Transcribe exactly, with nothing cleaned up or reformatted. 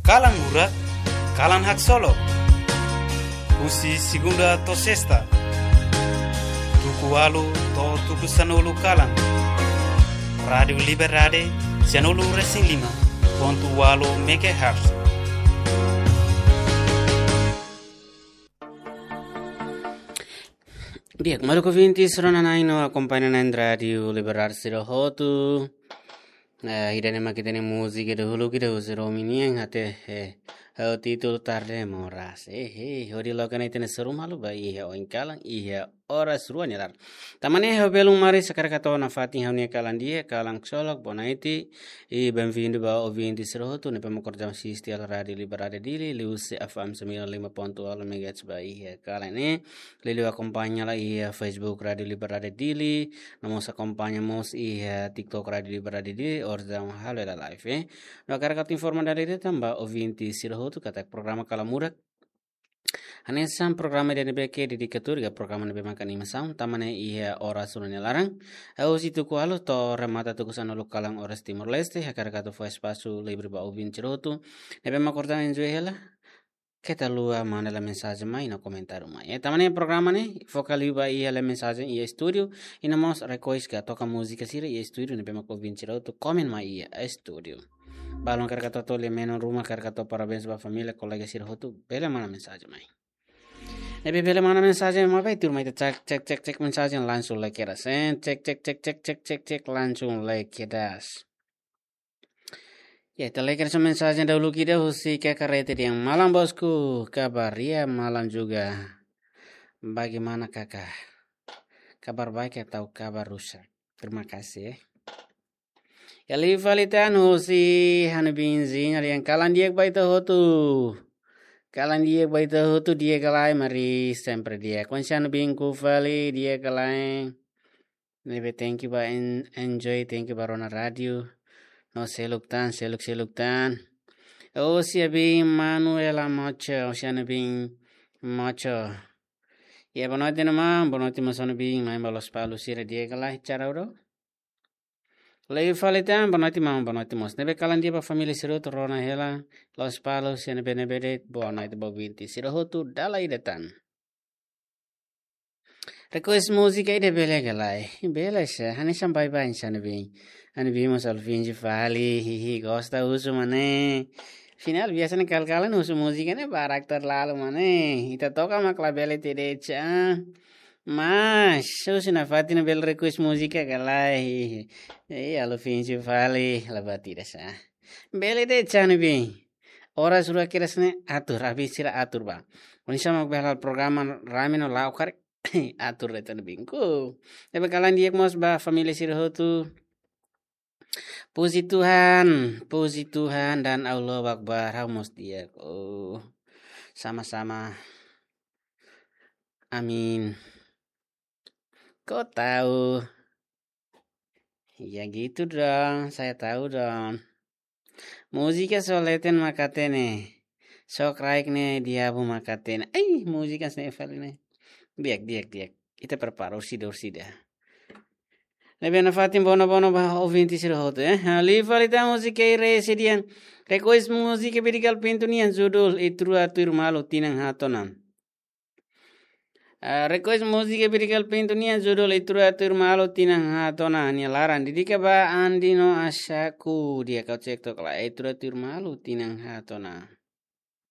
Kalan Murak, kalan haksolok. Husi segunda to'o sesta, tuku ualu to'o tuku sanulu kalan. Rádiu Liberdade, sanulu resin lima pontu ualu megahertz. Di'ak, maluk ouvintes, rona-na'in no akompaña-na'in Rádiu Liberdade sira hotu. Eh, ida-ne'e mak ita-nia múzika dahuluk ida husi Romi nian, até, eh, ho títulu Tarde Moras. Eh, eh, hodi loke ona ita-nia seru malu ba iha oin kalan, iha oras rua nia laran. Tan ne'e ha'u belun maris hakarak atu hato'o nafatin ha'u-nia kalan di'ak, kalan haksolok, boa noite. I bem-vindo ba ouvinte sira hotu ne'ebé mak orsida asiste hela Rádiu Liberdade Dili, liuhusi F M sembilan lima pontu nol megahertz ba iha kalan ne'e. Liuliu akompaña hela iha Facebook Rádiu Liberdade Dili, no mós akompaña mós iha TikTok Rádiu Liberdade Dili, orsida halo hela live, eh. No hakarak atu informa dala ida tan ba ouvinte sira hotu katak programa Kalan Murak hanesan programa ida ne'ebé ke dedika tuir iha programa ne'ebé maka animasaun, tan ne'e iha oras rua nia laran. Husi tuku ualu to'o remata tuku sanulu kalan oras Timor-Leste, hakarak atu fó espasu livre ba ouvinte sira hotu ne'ebé mak orsida enjoy hela. Keta haluha manda hela mensajen mai no komentáriu mai. Eh, tan ne'e programa ne'e foka liu ba iha hela mensajen iha estúdiu, i no mós request ka toka múzika sira iha estúdiu ne'ebé mak ouvinte sira hotu komen mai iha estúdiu. Balun hakarak atu hato'o, lia-menon ruma hakarak atu hato'o parabéns ba família, kolega sira hotu, bele manda mensajen mai. Ne'ebé bele manda mensajen mai, bá tuirmai ita cek, cek, cek, cek mensajen langsung lai kedas, eh. Cek, cek, cek, cek, cek, cek, cek, langsung lai kedas. Ya, ita lai kedas mensajen dahuluk ida husi Kaka Rete dehan: "Malam bosku, kabar? Ya, malam juga. Bagaimana Kaka? Kabar baik atau kabar rusak?" Terima kasih, eh. Ya, liu fali tan husi Hanu Binzi, dehan kalan di'ak ba ita hotu. Kalan di'ak ba ita hotu, di'ak ka lae, mari sempre di'ak. Konsi Hanu Bin ku fali, di'ak ka lae. Ne'ebé thank you ba en-, enjoy, thank you ba rona rádiu. No seluk tan, seluk, seluk tan. Husi Abi Manuela Mocho, husi Hanu Bin Mocho. Ya, boa noite, maun, boa noite mós Hanu Bin, mai ba Lospalos sira, di'ak ka lae, cara udo. Liu fali tan, boa noite maun, boa noite mós. Ne'ebé kalan di'ak ba família sira hotu, rona hela Lospalos, sira ne'ebé-ne'ebé de'it, boa noite ba ouvinte sira hotu, dala ida tan. Request múzika ida bele ka lae? Bele sá, hanesan baibain sá Hanu Bin. Hanu Bin mós halo finje fali, hihi, gosta husu mak ne'e. Finál biasa ne'e kal-kalan husu múzika ne'e barak terlalu mak ne'e. Ita toka mak labele de'it sá. Mas, husu nafatin bele request múzika ka lae? Eh, halo finje fali, la buat ida sá. Bele de'it sá Hanu Bin. Oras rua kedas ne'e atur, Abi sira atur bá. Oinsá mak bele halo programa rame no la'o karik, atur de'it Hanu Bin ku. Ne'ebé kalan di'ak mós ba família sira hotu. Puji Tuhan, puji Tuhan dan Allahu Akbar, ha'u mós di'ak. Oh, sama-sama. Amin. Kau tahu? Ya gitu dong, saya tahu dong. Múzika só leten mak hatene. Só kraik ne'e diabu mak hatene. Ai, múzika sne fali ne'e. Di'ak, di'ak, di'ak. Ita prepara orsida, orsida. Ne'ebé nafatin bono-bono ba ouvinte sira hotu, eh. Ha, liu fali tan husi Kei Resi dehan request múzika Bidikal Pintu nian judul Ita Rua Tuir Malu Tinan Haat Ona. Ah, request múzika Bidikal Pintu nian judul Ita Rua Tuir Malu Tinan Haat Ona, nia laran dedika ba Andi no Asaku, di'ak ka lae, Ita Rua Tuir Malu Tinan Haat Ona.